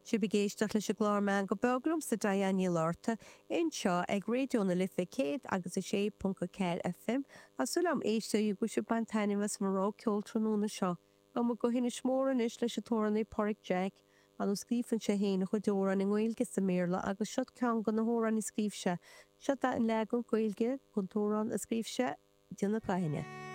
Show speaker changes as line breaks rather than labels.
Sibh ag éisteacht leis an gclár Meangadh Beag liomsa Diane Ní Fhlatharta anseo ag Raidió na Life 100 agus 6.4 FM. Tá súil agam a éisteoirí go bhfuil sibh ag baint taitneamh as mo rogha ceoil tráthnóna seo. Gabhfaidh muid go hInis Mór anois leis an t-amhránaí Páraic Jack. Ar ndóigh scríobhann sé féin a chuid amhrán i nGaeilge is i mBéarla agus seo ceann de na hamhráin a scríobh sé. Seo an leagan Gaeilge den t-amhrán a scríobh sé, Déanamh Gaibhne.